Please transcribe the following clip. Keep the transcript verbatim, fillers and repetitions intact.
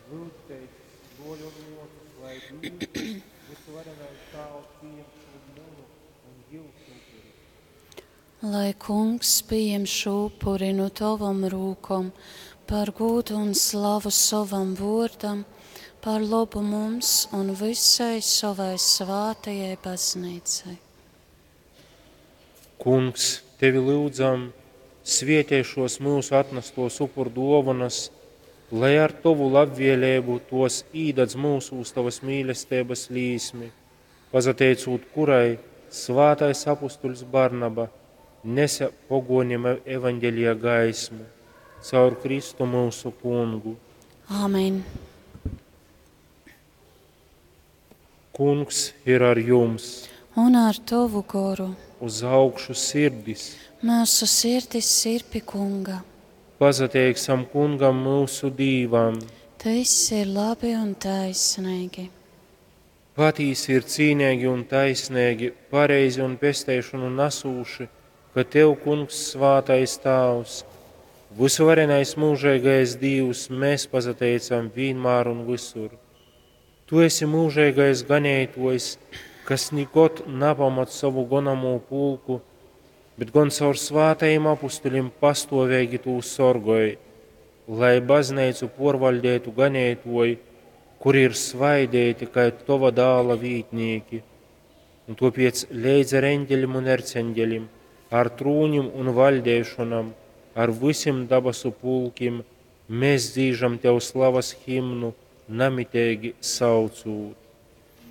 Lyudzitēs, bruoļi un muosys, lai Dīvs, vysuvarenais Tāvs, pījem šū munu un jiusu upuri. Lai Kungs pījem šū upuri nu tovom rūkom par gūdu un slavu sovam vuordam, par lobu mums un vysai sovai svātajai baznīcai. Kungs, tevi lyudzam, svietej šuos myusu atnastuos upurduovonas, lai ar tovu labvieleibu tuos īdadz myusūs tovys mīlesteibys līsmi, pasateicūt kurai svātais apustuļs Barnaba nese poguonim evaņģelija gaismu. Caur Kristu myusu Kungu. Āmen. Kungs ir ar jums. Un ar tovu goru. Uz augšu sirdis. Myusu sirdis ir pi Kunga. Pasateiksim Kungam myusu Dīvam. Tas ir labi un taisnīgi. Patīsi ir cīneigi un taisneigi, pareizi un pesteišonu nasūši, ka Tev, Kungs, svātais Tāvs, vysuvarenais mūžīgais Dīvs, mēs pasateicam vienmēr un visur. Tu esi mūžīgais ganētojs, kas nikod napamat savu gonamū pulku, bet gan caur svātajiem apustuļiem pastovēgi tū sorgoj, lai baznīcu porvaldētu ganētoji, kuri ir svaidēti kai tova dāla vītnieki. Un topiec leidz ar eņģeļim un erceņģeļim, ar trūņim un vaļdēšonam, ar visim dabasu pulkim, mēs dzīžam tev slavas himnu, namitīgi saucūt.